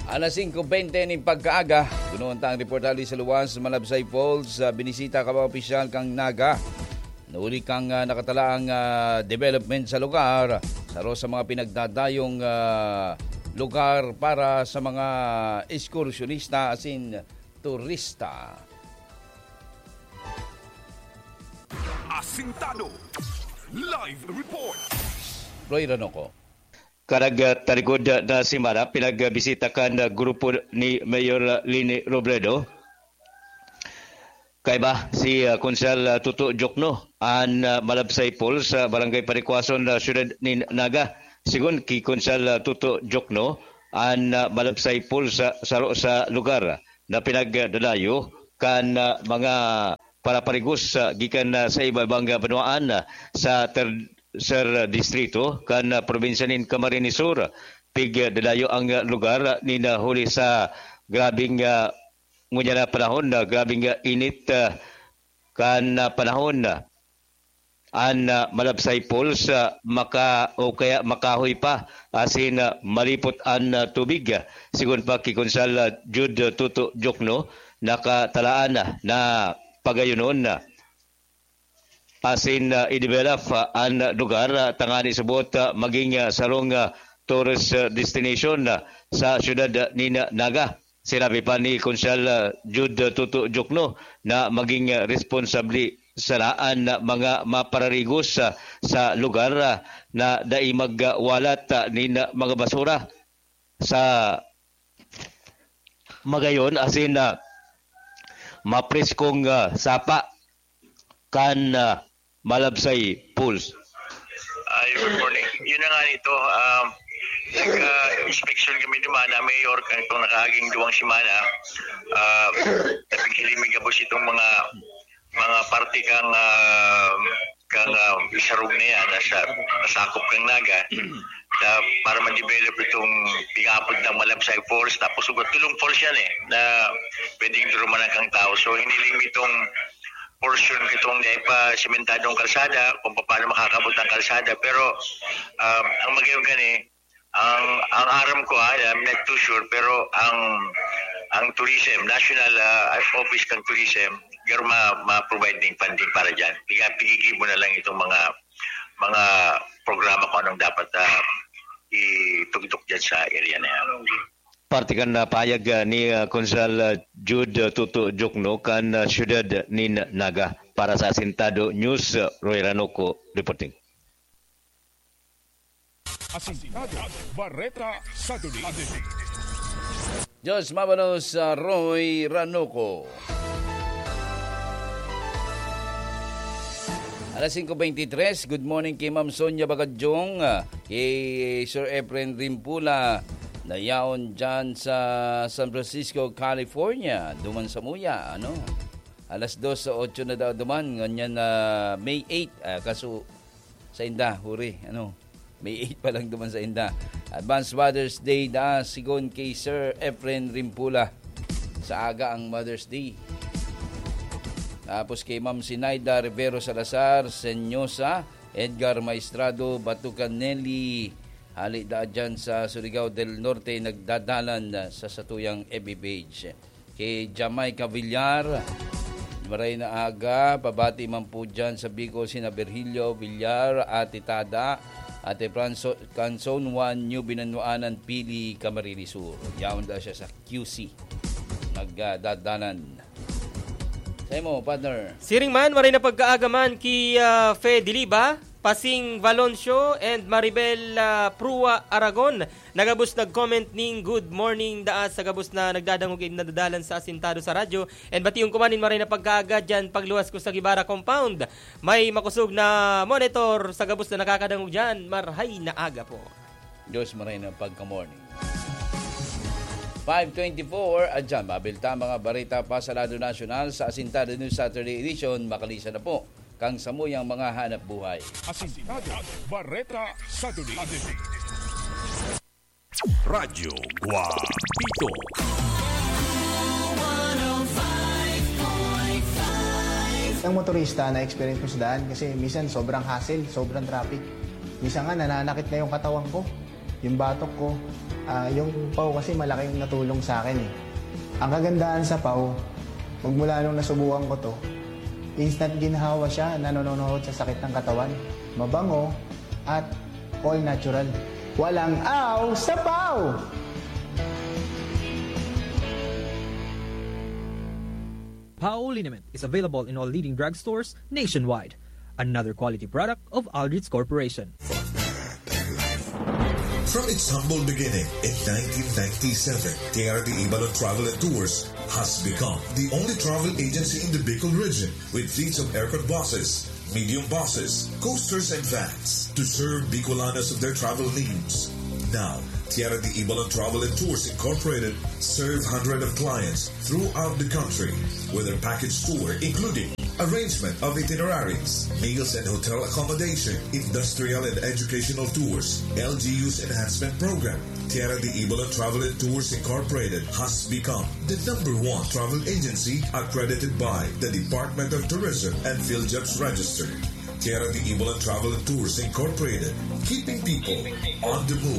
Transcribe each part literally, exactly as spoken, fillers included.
Alas singko bente nin pagkaaga, gunoon ta ang reportahe sa luwas, Malabsay Falls, ah, binisita ka mga opisyal kan Naga. Nauli kan, ah, nakatalaang, ah, development sa lugar, saro sa mga pinagdadayong, ah, lugar para sa mga ekskursyonista asin turista. Asintado. Live report. Roy Ranoco. Karag, ah, talikod na semana, pinagbisita kan, ah, grupo ni Mayor, ah, Leni Robredo. Kaiba si, ah, Konsehal, ah, Toto Jokno, an, ah, Malabsay Falls sa Barangay Panicuason, ah, siyudad nin Naga. Sigon ki Konsehal, ah, Toto Jokno, an, ah, Malabsay Falls sa saro sa lugar na pinagdadayo kan, ah, mga paraparigos, ah, gikan, ah, sa iba-ibang, ah, banwaan, ah, sa ter-, ser distrito kan, ah, probinsya nin Camarines Sur. Pigdadayo ang, ah, lugar nin, ah, huli sa grabeng, ah, ngunyan na panahon, ah, grabeng, ah, init, ah, kan, ah, panahon. An, ah, Malabsay Falls, ah, maka-, o kaya makahoy pa, asin, ah, malipot an, ah, tubig. Sigon pa ki Konsehal, ah, Jude Toto Jokno, nakatalaan na, na pagayonon na asin, ah, i-develop, ah, an lugar, ah, tangani subot, ah, maging, ah, sarong, ah, tourist, ah, destination, ah, sa siyudad, ah, nin Naga. Sinabi pa ni Konsehal, ah, Jude Toto Jokno na maging, ah, responsable sana an, ah, mga mapararigos, ah, sa lugar, ah, na dai magwalat, ah, nin, ah, mga basura sa magayon asin, ah, mapreskong, ah, sapa kan, ah, Malabsay Falls. Ay, good morning. Yun na nga nito, ah, nag-, ah, inspection kami duman na mayor kan itong nakaaging duwang semana. Ah, naghiling mi gabos itong mga, mga parte kang, ah, kang, ah, isarog na yan, nasa, nasakop kang Naga. Na para ma-develop itong pigapod ng Malabsay Falls, tapos ugat tulong falls yan eh, na pwedeng durumanan kang tao. So, hiniling mi itong portion nitong dai pa sementadong kalsada, kung paano makakabot ang kalsada. Pero, um, ang magayon gani, ang, ang aram ko, ah, I'm not too sure, pero ang, ang tourism, national, ah, office kang tourism, pero ma-, ma-provide ding funding para dyan. Piga-, pigigibo na lang itong mga, mga programa kung anong dapat, ah, itugtok dyan sa area na yan. Parte kan, ah, pahayag, ah, ni, ah, Konsehal, ah, Jude, ah, Toto Jokno kan, ah, siyudad nin Naga. Para sa Asintado News, ah, Roy Ranoco reporting. Asintado, Bareta, Saturday. Diyos mabalos sa Roy Ranoco. Alas singko bente tres, good morning kay Ma'am Sonia Bagadyong, ah, kay Sir Efren Rimpula, na yaon dyan sa San Francisco, California. Duman sa muya, ano? Alas dos sa otso na daw duman, ngunyan na May eight, ah, kaso sa inda, huri, ano? May eight pa lang duman sa inda. Advance Mother's Day da, sigon kay Sir Efren Rimpula. Sa aga ang Mother's Day. Tapos kay Ma'am Sinaida Rivero Salazar, Senyosa, Edgar Maestrado, Batucan Nelly, hali da dyan sa Surigao del Norte, nagdadalan sa satuyang F B page. Kay Jamaica Villar, maray na aga, pabati man po dyan sa Bicol, sina Virgilio Villar, Ate Tada, Ate Franso, Canson Juan, New Binanwaanan, Pili, Camarines Sur. Yaon da siya sa Q C. Nagdadalan. Sa imo, partner. Siring man, maray na pagkaaga man ki, ah, Fe Diliba, Pasing Valoncio, and Maribel, ah, Prua Aragon. Nagabos nag-comment ning good morning daa sa gabos na nagdadangog and nadadalan sa Asintado sa radyo. And bation ko man nin maray na pagkaaga dyan pagluwas ko sa Guevara Compound. May makosog na monitor sa gabos na nakakadangog dyan. Marhay na aga po. Diyos maray na pagka-morning. Five twenty-four, at dyan, mabilta ang mga bareta pa sa lado nasyonal sa Asintado News Saturday Edition. Makalisan na po kang samuyang mga hanap buhay. Asintado, Bareta, Saturday. Radyo Guapito. Ang motorista na-experience ko sa daan kasi minsan sobrang hassle, sobrang traffic. Minsan nga nananakit na yung katawan ko, yung batok ko. Ah, yung paw kasi malaking natulong sa akin eh. Ang kagandahan sa paw, magmula nung nasubukan ko 'to, instant ginhawa siya, nanononohod sa sakit ng katawan. Mabango at all natural. Walang aw sa paw! Paw Liniment is available in all leading drugstores nationwide. Another quality product of Aldrich Corporation. From its humble beginning in nineteen ninety-seven, Tierra de Ibalon Travel and Tours has become the only travel agency in the Bicol region with fleets of aircon buses, medium buses, coasters, and vans to serve Bicolanos of their travel needs. Now, Tierra de Ibalon Travel and Tours Incorporated serve hundreds of clients throughout the country with a package tour including arrangement of itineraries, meals and hotel accommodation, industrial and educational tours, L G U's enhancement program, Tierra de Ibalon Travel and Tours Incorporated has become the number one travel agency accredited by the Department of Tourism and PhilJobs Register. Tierra de Ibalon Travel and Tours Incorporated, keeping people on the move.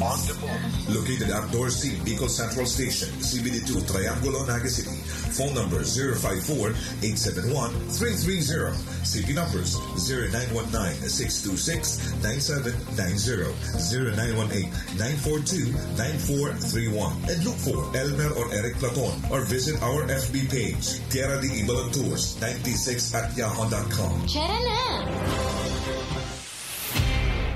Located at Dorsey, Bicol Central Station, C B D two, Triangulo, Naga City. Phone number zero five four, eight seven one, three three zero. C P numbers zero nine one nine, six two six, nine seven nine zero, zero nine one eight, nine four two, nine four three one. And look for Elmer or Eric Platon or visit our F B page, Tierra de Ibalon Tours ninety-six at yahoo dot com. Tara na!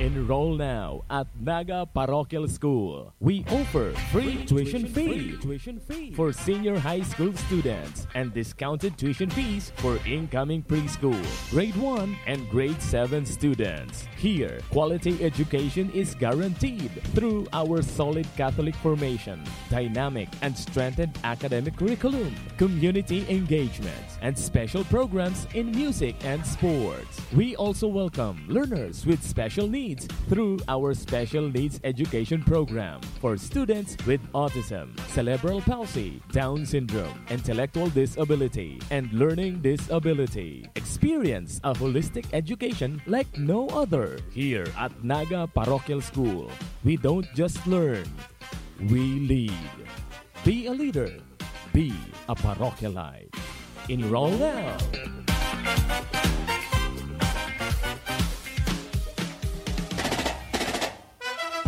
Enroll now at Naga Parochial School. We offer free tuition fee for senior high school students and discounted tuition fees for incoming preschool, grade one, and grade seven students. Here, quality education is guaranteed through our solid Catholic formation, dynamic and strengthened academic curriculum, community engagement, and special programs in music and sports. We also welcome learners with special needs through our Special Needs Education Program for students with autism, cerebral palsy, Down syndrome, intellectual disability, and learning disability. Experience a holistic education like no other. Here at Naga Parochial School, we don't just learn, we lead. Be a leader. Be a parochialite. Enroll now!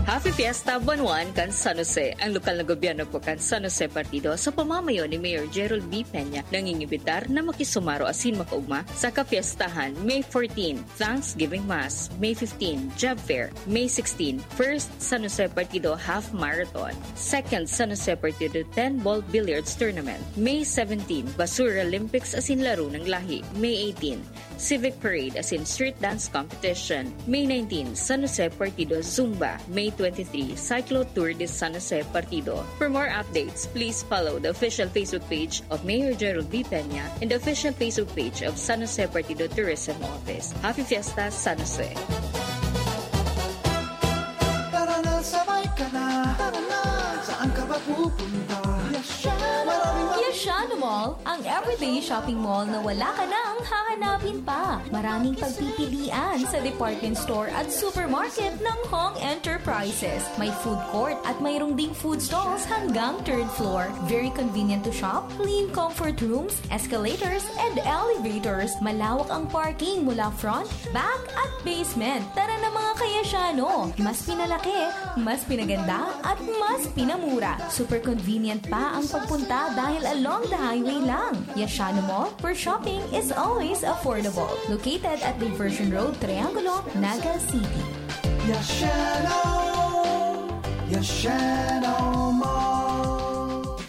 Happy Fiesta, Buwan One kan San Jose! Ang lokal na gobyerno po kan San Jose Partido sa pamamayo ni Mayor Gerald B. Peña nangingimbitar na makisumaro asin makaugma sa kapiestahan May fourteen, Thanksgiving Mass, May fifteen, Job Fair, May sixteen, First San Jose Partido Half Marathon, Second San Jose Partido ten Ball Billiards Tournament, May seventeen, Basura Olympics asin Laro ng Lahi, May eighteen, Civic Parade asin Street Dance Competition, May nineteen, San Jose Partido Zumba, May twenty-three, Cyclo Tour de San Jose Partido. For more updates, please follow the official Facebook page of Mayor Gerald B. Peña and the official Facebook page of San Jose Partido Tourism Office. Happy Fiesta, San Jose! Tara na, sabay ka na. Tara na, saan ka ba pupunta? Yashano! Maraming Yashano Mall, ang everyday shopping mall na wala ka nang hahanapin pa. Maraming pagpipilian sa department store at supermarket ng Hong Enterprises. May food court at mayroong ding food stalls hanggang third floor. Very convenient to shop, clean comfort rooms, escalators, and elevators. Malawak ang parking mula front, back, at basement. Tara na, mga ka-Yashano! Mas pinalaki, mas pinaganda, at mas pinamura. Super convenient pa ang pagpunta dahil along the highway lang. Yashano Mall, where shopping is always affordable. Located at Diversion Road, Triangulo, Naga City. Yashano! Yashano Mall!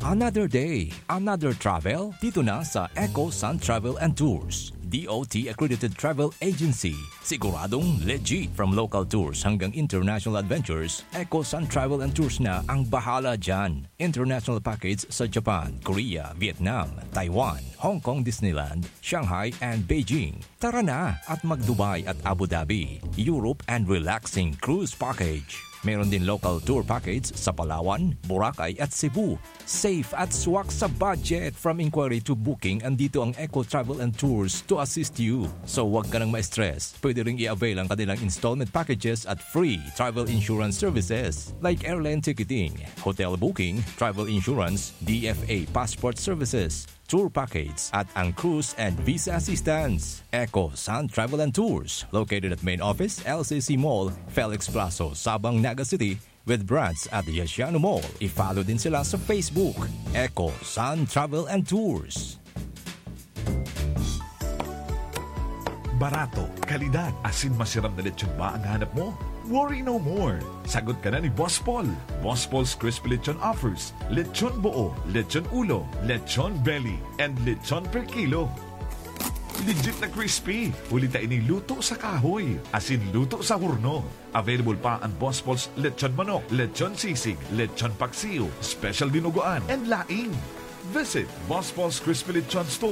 Another day, another travel, dito na sa Eco Sun Travel and Tours, D O T accredited travel agency. Siguradong legit. From local tours hanggang international adventures, Eco Sun Travel and Tours na ang bahala dyan. International package sa Japan, Korea, Vietnam, Taiwan, Hong Kong Disneyland, Shanghai, and Beijing. Tara na at mag-Dubai at Abu Dhabi, Europe, and relaxing cruise package. Meron din local tour package sa Palawan, Boracay at Cebu. Safe at swak sa budget. From inquiry to booking, andito ang Eco Travel and Tours to assist you. So, wag ka nang ma-stress. Pwede ring i-avail ang kanilang installment packages at free travel insurance services like airline ticketing, hotel booking, travel insurance, D F A passport services, tour package at ang cruise and visa assistance. Eco Sun Travel and Tours, located at main office, L C C Mall, Felix Plazo, Sabang, Naga City, with branch at Yesiano Mall. I-follow din sila sa Facebook, Eco Sun Travel and Tours. Barato, kalidad, asin masiram na lechon ba ang hanap mo? Worry no more! Sagot ka na ni Boss Paul. Boss Paul's Crispy Lechon offers lechon buo, lechon ulo, lechon belly, and lechon per kilo. Legit na crispy, huli ta ini luto sa kahoy, asin luto sa horno. Available pa ang Boss Paul's Lechon Manok, Lechon Sisig, Lechon Paksiw, Special Dinuguan, and laing. Visit Boss Paul's Crispy Lechon Store.